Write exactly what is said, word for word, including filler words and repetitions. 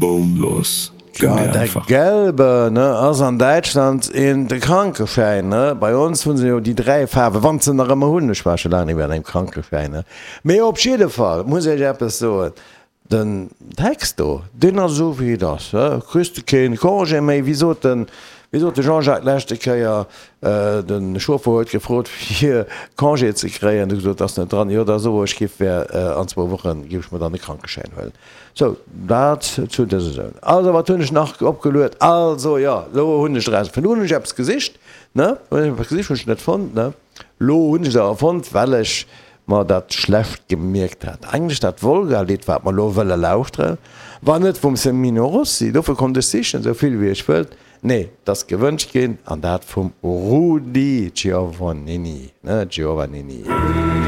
Baumlos. Ja, der gelbe, ne, ass an Däitschland een de Krankeschäin, ne? Bei ons hunn se jo déi dräi Faarwen, wann se nach ëmmer hunn, ech war scho laang net méi an engem Krankeschäin, ne? Mee op jidde Fall muss ech eppes soen, den Text do, deen ass esou wéi et ass, ne? Kriss de keen Congé méi, wéi sot den, wéi sot de Jean-Jacques leschte Kéier, de Chauffer huet gefrot fir Congé ze kréien, huet gesot, ass net dran, jo da so ech giff wär an zwou Wochen giff ech mer dann e Krankeschäin huelen. Sou, dat zu dëser Zone. Also, wat hunn ech nach opgeluet? Also, jo, lo hunn ech eraus, vun do hunn ech eppes gesicht, ne, hunn ech eppes gesicht, hunn ech net fonnt, ne. Lo hunn ech et awer fonnt, well ech mer dat schlecht gemierkt hat. Eigentlech dat Wolga-Lidd, wat mer lo wëlle lauschteren, war net vum Semino Rossi, dofir konnt ech sichen, esou vill wéi ech wëllt. Nee, et ass gewënscht ginn, an dat vum Rudy Giovannini, ne, Giovannini.